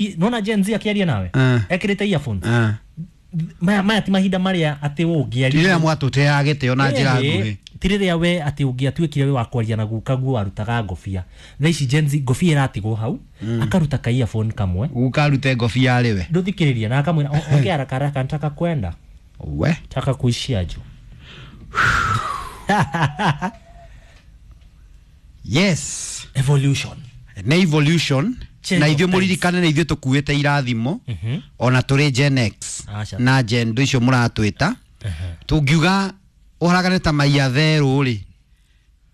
Nona Gen Z akĩaria nawe ekĩrĩte earphones. Maya ti mahinda marĩa atĩ ũngĩaria. Ti rĩrĩa mwatũteaga gĩtĩo na njĩra nguhĩ. Ti rĩrĩa we atĩ ũngĩatuĩkire we wa kwaria na guka guo warutaga ngobia. Thaa ici Gen Z ngobia ĩratigwo hau, akaruta ka earphone kamwe. Guka arute ngobia arĩ we. Ndũthikĩrĩria na akamwĩra ongea haraka haraka nataka kwenda. We. Nataka kuishia juu. Yes. Evolution. Nĩ evolution. Change Na of ithuĩ times. mũririkane nĩ ithuĩ tũkuĩte irathimo ona tũrĩ Gen X Aca. na Gen ndũ icio mũratwĩta. Tũngiuga ũharagane ta maiya therũ rĩ,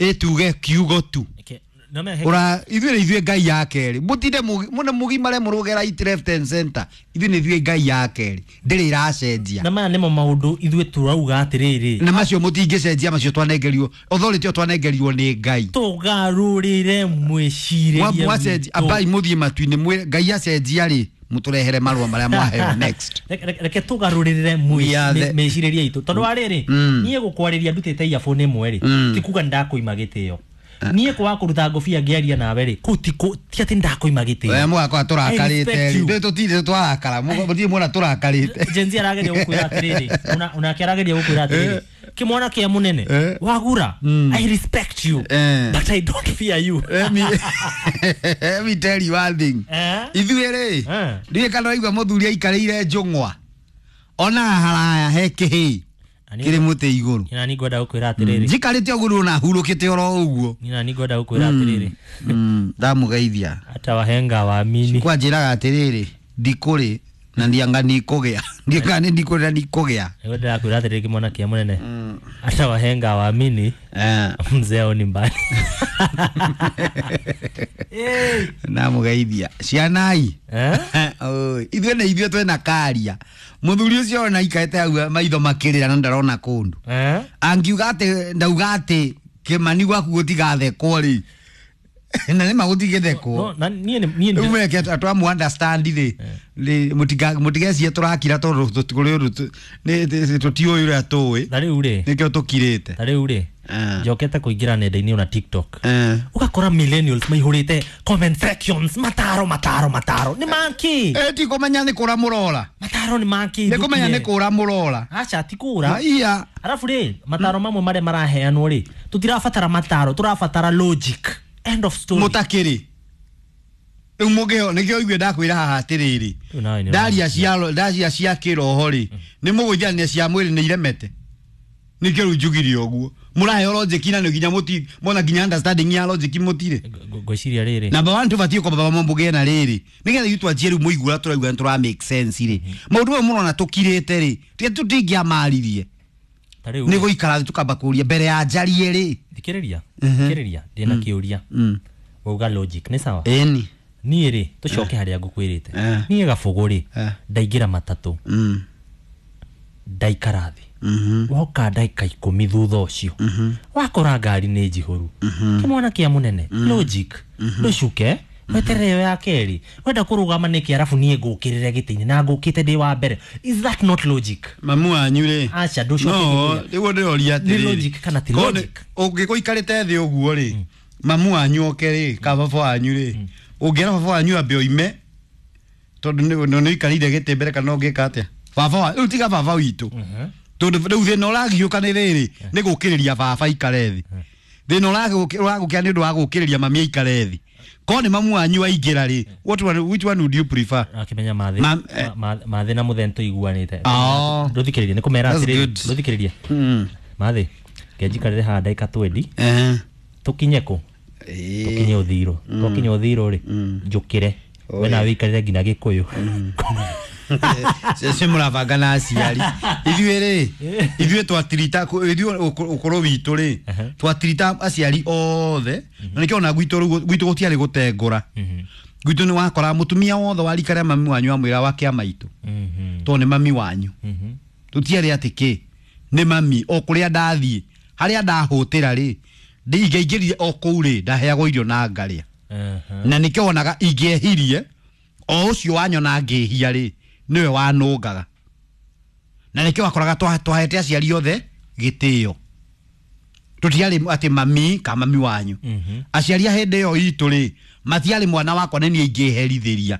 ĩtuge kiugo tu. Okay. No me Ura ithuĩ nĩ ithuĩ Ngai ya kerĩ. Mũtinde mũne mũgimare mũrũge right left and center. Ithuĩ nĩ ithuĩ Ngai ya kerĩ. Ndĩrĩ iracenjia. Na maya nĩmo maũndũ ithuĩ tũrauga atĩrĩrĩ. Na macio mũtingĩcenjia, macio twanengerirwo authority ĩyo twanengerirwo nĩ Ngai. Tũgarũrĩre mwĩcirĩrie Mwacenjia witũ. ambai mũthiĩ matu-inĩ mwĩre Ngai acenjia rĩ, mũtũrehere marũa marĩa mwaheo next. Reke tũgarũrĩre We are the mĩcirĩrie itũ tondũ wa rĩrĩ, niĩ gũkwarĩria ndutĩte earphone ĩmwe rĩ, ti kuga nĩndakũima gĩtĩo. Niĩ kwaga kũruta ngobia ngĩaria nawe rĩ, kũu ti atĩ nĩndakũima gĩtĩo. We mũgakorwo tũrakarĩte I respect rĩ. you. Ithuĩ tũtirĩ twarakara. Mũtirĩ muona tũrakarĩte. Gen Z arageria gũkwĩra atĩrĩrĩ, onake arageria gũkwĩra atĩrĩrĩ, kĩmwana kĩa mũnene, wagura, I respect you, but I don't fear you. Let me tell you one thing. Ithuĩ rĩ, ndiũĩ kana ũraigua mũthuri aikarĩire njũng'wa. Ona haraya he kĩhĩĩ kĩrĩ mũtĩ igũrũ. Nina ningwenda gũkwĩra atĩrĩrĩ. Njikarĩte ũguo na hurũkĩte oro ũguo. Nina ningwenda gũkwĩra atĩrĩrĩ. Ndamũgeithia. Hata wahenga waamini. Kwa njĩraga atĩrĩrĩ, ndikũrĩ na ndianga nikũgĩa. Ndianga nĩ ndikũrĩ na nikũgĩa. Ningwenda gũkwĩra atĩrĩrĩ kĩmwana kĩa mũnene. Hata wahenga waamini. Mzee au ni mbali. Ndamũgeithia. Cianai. Oi, ithuĩ nĩ ithuĩ twĩna karia. Mũthuri ũcio ona aikarĩte hau maitho makĩrĩra na ndarona kũndũ. Angiuga atĩ ndauga atĩ Kĩmani gwaku gũtigathekwo rĩ. Na nĩ ma gũtigĩthekwo. No, na niĩ nĩ- niĩ nĩ- Rĩu meke twamu understand rĩ, rĩ, mũtigecie tũrakira tondũ tũtikũrĩ ũndũ tũtiũĩ ũrĩa tũĩ. Ta rĩu rĩ. Nĩkĩo tũkirĩte. Ta rĩu rĩ, njokete kũingĩra nenda-inĩ ona TikTok. Ũgakora millennials maihũrĩte comment sections, mataro, mataro, mataro. Nĩ makĩ? Ti kũmenya nĩ kũra mũrora. Mataro nĩ makĩ? Nĩ kũmenya nĩ kũra mũrora. Aca, ti kũra. Maiya. Arabu rĩ, mataro mamwe marĩa maraheanwo rĩ, tũtirabatara mataro, tũrabatara logic. End of story. Mũtakĩrĩ. Rĩu mũngĩho, nĩkĩo igue ndakwĩra haha atĩrĩrĩ. Rĩu nawe nĩ Ndaria ũramenya. ndaria cia kĩroho rĩ, nĩ mũgũithania cia mwĩrĩ nĩ iremete. Nĩkĩo rĩu njugire ũguo. Mũraheo logic na nĩ nginya mũti, mona nginya understanding ya logic mũtirĩ. Ngwĩciria rĩrĩ. Number 1 tũbatiĩ kwamba mũgĩe na rĩrĩ. Nĩgetha ithuĩ twanjie rĩu mũigue ũrĩa tũraigua nĩ tũra make sense rĩ. Maũndũ maya mũrona tũkirĩte rĩ, tiga tũtingĩamaririe. Ta rĩu Nĩ gũikara thĩ tũkamba kũria mbere ya njarie rĩ. Thikĩrĩria, thikĩrĩria, ndĩna kĩũria. Wauga logic, nĩ sawa? Ĩni. Niĩ rĩ, tũcoke harĩa ngũkwĩrĩte. Niĩ Gabũgũ rĩ, ndaingĩra matatũ. Ndaikara thĩ. Woka ndagĩka ikũmi thutha ũcio. Wakora ngari nĩ njihũru. Kĩmwana kĩa mũnene, logic. Ndũcuke, weterere ĩyo ya kerĩ. Wenda kũrũgama nĩkĩ arabu niĩ ngũkĩrĩre gĩtĩ-inĩ na ngũkĩte ndĩ wa mbere. Is that not logic? Mamu wanyu rĩ. Aca, ndũcoke No, gĩtĩ-inĩ. nĩguo ndĩroria Nĩ atĩrĩrĩ. logic kana ti Korwo nĩ logic? ũngĩgũikarĩte thĩ ũguo rĩ, mamu wanyu oke rĩ, ka baba wanyu rĩ, ũngĩera baba wanyu ambe oime, tondũ nĩ ũikarĩire gĩtĩ mbere kana ũngĩka atĩa? Baba wa, rĩu tiga baba witũ. Tondũ rĩu thĩna ũragiũka nĩ rĩrĩ, nĩ gũkĩrĩria baba aikare thĩ. Thĩna ũragũkĩra nĩ ũndũ wa gũkĩrĩria mami aikare thĩ. Korwo nĩ mamu wanyu aingĩra rĩ, which one would you prefer? Akĩmenya mathĩ na mũthee nĩtũiguanĩte. Oh. Ndũthikĩrĩrie, nĩ kũmera That's atĩrĩrĩ, good. ndũthikĩrĩrie. Mathĩ, ngenjikarĩre haha ndagĩka twendi. Tũkinye kũ? Tũkinye Ũthirũ. Twakinya Ũthirũ rĩ, njũkĩre. We nawe ũikarĩre nginya Gĩkũyũ. Cio mũrabanga na aciari. Ithuĩ rĩ, ithuĩ twatirita, ithuĩ ũkũrũ witũ rĩ, twatirita aciari othe. Na nĩkĩo ona gwitũ rĩu, gwitũ gũtiarĩ gũtengũra. Gwitũ nĩ wakora mũtumia wothe wa rika rĩa mami wanyu amwĩra wa kĩa maitũ. Tondũ nĩ mami wanyu. Tũtiarĩ atĩ kĩ, nĩ mami, o kũrĩa ndathiĩ, harĩa ndahũtĩra rĩ, ingĩaingĩrire o kũu rĩ, ndaheagwo irio na ngarĩa. Na nĩkĩo wonaga ingĩehirie, o ũcio wanyona ngĩhia rĩ, nĩwe wanũngaga. Na nĩkĩo wakoraga twahete aciari othe gĩtĩo. Tũtiarĩ atĩ mami ka mami wanyu. Aciari a hĩndĩ ĩyo itũ rĩ, matiarĩ mwana wakwa nĩ niĩ ingĩherithĩria.